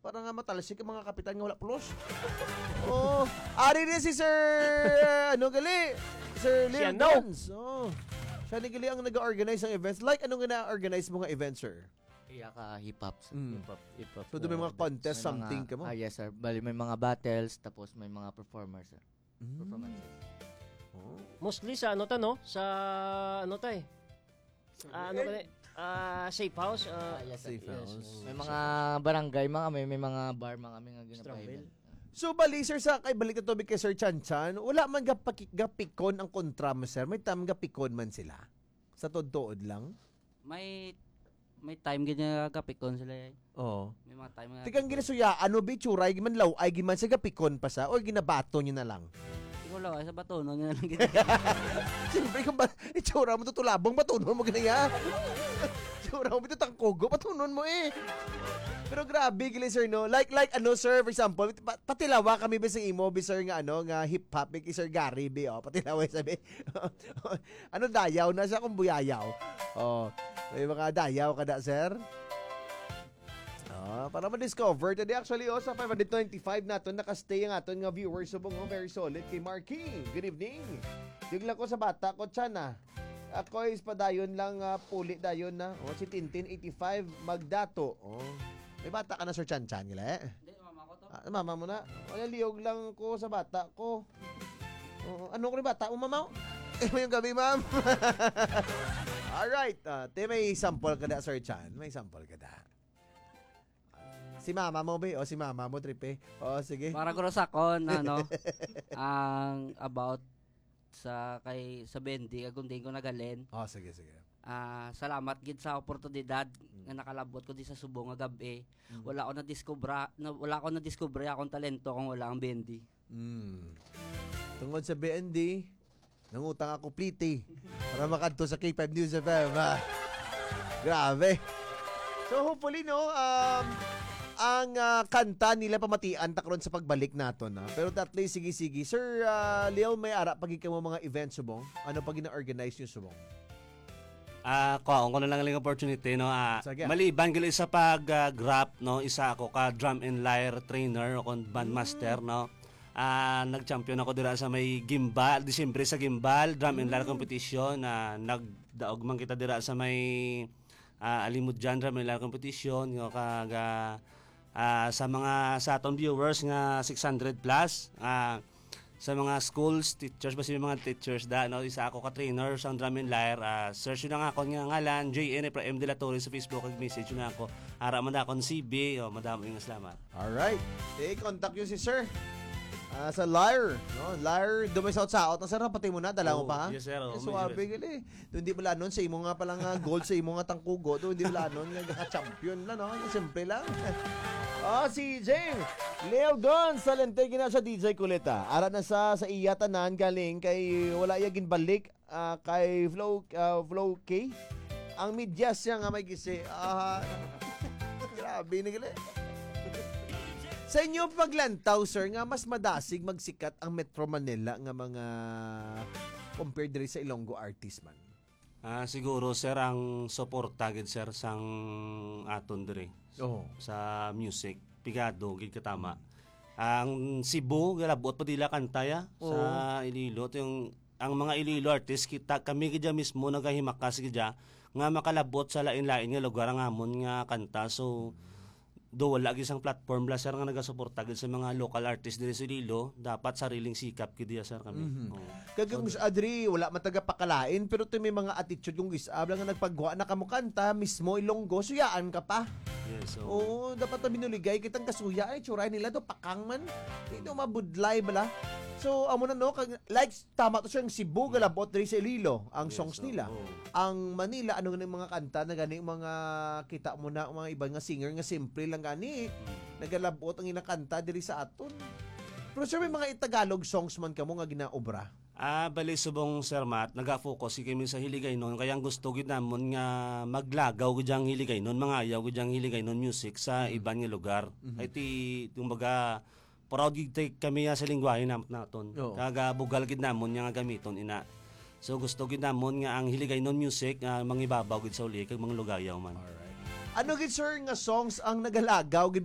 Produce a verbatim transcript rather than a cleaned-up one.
Para nga matalsik ang mga kapitan nga wala pulos. Oh, ari ni si Sir, ano gali? Sir Lil Siya, no? Dons. Oh. Siya ni gali ang nag-organize ng events. Like, ano nga na-organize mo nga events, sir? Iya ka hip-hop, sir. Mm. Hip-hop, hip-hop, So, do may uh, mga contest, may something mga, ka mo? Ah, yes, sir. Bali, may mga battles, tapos may mga performers, sir. Mm. Performances. Oh. Mostly sa ano ta, no? Sa ano ta eh? Ah, ano ka na? Ah, safe house. Ah, Ah, yes, sir. Safe Yes. house. May mga barangay, mga may, may mga bar, mga may nga Strawberry. ginapahilan. So, bali, sir, sa kay balik na tubig kay Sir Chan Chan, wala man gapaki-, gapikon ang kontra mo, sir. May tam gapikon man sila. Sa tuod-tuod lang. May, may time gid nga gapikon sila eh. Oo. May mga time nga Tikang gapikon. ginasuyaan mo, bi, tsuray, man law, ay giman sa gapikon pa sa, o ginabato niyo na lang? Ikaw lang, ay sa batunon nga lang gid. Siyempre, kung ba, itsura mo to tulabong, batunon mo gani, ha? Itsura mo to tangkugo, batunon mo eh. Pero grabe, gali, sir, no? Like, like, ano, sir, for example, pa- patilawa kami, bisang imo, bi, sir, nga, ano, nga hip-hop, bi, kay Sir Gary, bi, oh, patilawa, sabi. Ano, dayaw na siya kung buyayaw? Oh, may mga dayaw ka na, sir? Ah, para ma-discover. Tadi actually, oh, sa five hundred twenty-five naton, nakastay ang aton nga viewers. Subong, oh, very solid kay Marky. Good evening. Yung lang ko sa bata ko, Chan, ah. Ako is padayon lang, ah, puli dayon na. Oh, si Tintin eighty-five, magdato. Oh. May bata ka na, Sir Chan Chan, gila, eh? Hindi, mama ko to. Ah, mama mo na. Wala, liyog lang ko sa bata ko. Oo, ano ko ni bata mo, mama? Eh, may gabi, ma'am. Alright. Ah, te, may sample ka da, Sir Chan. May sample ka da. Si mama mo, be? O si mama mo, Tripe? O, sige. Para guro sa akon, ano, ang about sa kay, sa Bendy, kag kung diin ko nagalin. O, sige, sige. Ah, salamat gid sa oportunidad Mm. nga nakalabot ko di sa subong nga gab-i. Mm. Wala ko nadiskubre, na, wala ko nadiskubre akong talento kung wala ang Bendy. Mm. Tungod sa B N D, nangutang ako pliti para makadto sa K five News F M, ah. Grabe. So, hopefully, no, um, ang, ah, kanta nila pamatian ta karon sa pagbalik naton, ah. Pero at least, sige, sige. Sir, ah, Leo, may ara pa gid kamo mga events subong? Ano pa gina-organize niyo subong? Ah, kuhaon ko na lang ang opportunity, no? Ah, Sige. maliban gali sa pag, ah, grap, no? Isa ako ka drum and lyre trainer o kung band Mm. master, no? Ah, nag-champion ako dira sa may gimbal, Disyembre sa gimbal, drum and lyre Mm. competition. Ah, nagdaog man kita dira sa may, ah, Alimudyan drum and lyre competition, no? Kag, ah, ah, sa mga, sa aton viewers nga six hundred plus, ah, sa mga schools, teachers, basi may mga teachers da, no? Isa ako ka trainer sa drum and lyre. Ah, search yun ang akon nga ngalan, J N Efraim de la Torre sa Facebook, kag message yun ako. Ara man da akon C B, o, madamo yung salamat. Alright. Eh, contact yun si sir. Ah, sa lyre, no? Lyre, dumay sa out-sa-out na, sir, pati mo na, dala mo Oo, pa, ha? yes, sir. Oo, Eh, may suwabe, yes. gali. Doon di balanon sa imo nga pala nga goal, sa imo nga tangkugo, doon di balanon nga ka-champion na, no? Simple lang. Oh, si Jing Leo Gon sa Lente, gina siya D J Kulita. Ara na sa, sa iya tanan galing kay wala iya ginbalik, ah, kay Flow, ah, Flow K. Ang medyas siya nga may gisi. Ah, grabe na gali. Sa inyo paglantaw, sir, nga mas madasig magsikat ang Metro Manila nga mga compared diri sa Ilonggo artist man? Ah, siguro, sir, ang suporta gid, sir, sang aton diri Oo. sa music, pigado gid katama. Ang Cebu, galabot pa dila kanta ya sa Oo. Iloilo. Ito yung, ang mga Iloilo artist, kita, kami gid ya mismo nagahimakas gid ya nga makalabot sa lain-lain nga lugar ang amon nga kanta. So, do wala gid sang platform bala, sir, nga nagasuporta gid sa mga local artist diri sa Iloilo, dapat sariling sikap gid iya, sir, kami. Mhm. Oo. Kag ang So, Miss Adri, wala man taga pakalain, pero to may mga attitude kung gis-, abla nga nagpagwa na kamo kanta, mismo Ilonggo, suyaan ka pa. Yes, so, Oo, dapat na binuligay kitang kasuya, ay, tsuray nila do, pakang man. Ito, mabudlay bala. So, amo na, no, kag, like, tama to, sir, ang Cebu, galabot diri sa Iloilo, ang Yes, songs so, nila. Oo. Ang Manila, ano nga mga kanta na gani, mga kita mo na, mga iban nga singer nga simple lang gani, Mm. nagalabot ang inakanta diri sa aton. Pero, sir, may mga Tagalog songs man kamo nga ginaobra? Ah, bali subong, Sir Matt, naga-focus kami sa Hiligaynon, kaya ang gusto gid namon nga maglagaw gid ang Hiligaynon, mangayaw gid ang Hiligaynon music sa Mm. iban nga lugar. Mhm. Ay ti, kumbaga, proud gid tay kami, ah, sa lingwahe nam-, naton. Oo. Kag, ah, bugal gid namon nga gamiton ina. So, gusto gid namon nga ang Hiligaynon music, ah, mangibabaw gid sa uli kag manglugayaw man. Alright. Ano gid, sir, nga songs ang nagalagaw gid